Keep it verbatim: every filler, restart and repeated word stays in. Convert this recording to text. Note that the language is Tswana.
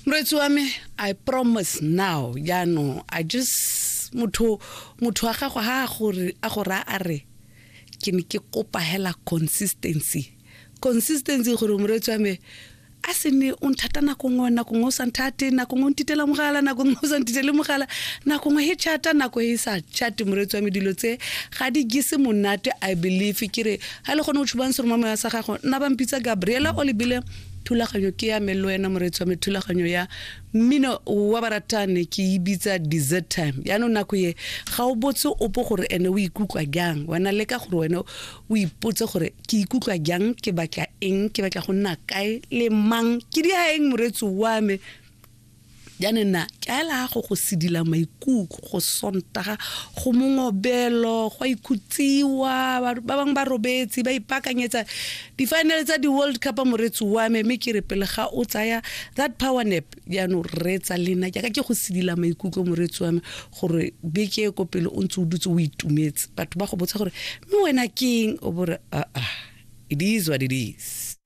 Moreetsi wa me, I promise now, jaanong I just motho motho wa gago ha a gore a go raya a re ke ne ke kopa hela consistency consistency gore moreetsi wa me a se ne o nthata nako nngwe, nako nngwe o sa nthate, nako nngwe o ntitela mogala, nako nngwe o sa ntitele mogala, nako nngwe he chata, nako e sa chate. Moreetsi wa me, dilo tse ga di gise monate. I believe ke re ga le gone o tshubang seromamoya sa gago, nna ba mpitsa Gabriela o lebile. Thulaganyo ke ya me le wena, moreetsi wa me, thulaganyo ya mmino wa baratane ke e bitsa Dessert Time. Yaanong nako ye ga o botse opo gore ene o ikutlwa jang. Wena leka gore wena o ipotse gore ke ikutlwa jang, ke batla eng, ke batla go nna kae le mang, ke di eng, moreetsi wa me. Jaanong nna ke aela go go sedila maikutlo go Sontaga, go mongobelo, go a ikhutsiwa, ba bangwe ba robetse ba ipaakanyetsa di-final tsa di-World Cup, moreetsi wa me. Mme ke re pele ga o tsaya that power nap, jaanong reetsa lena jaaka ke go sedila maikutlo, moreetsi wa me, gore beke e ko pele o ntse o dutse o itumetse. Batho ba go botsa gore mme wena ke eng, o bore aa, it is what it is.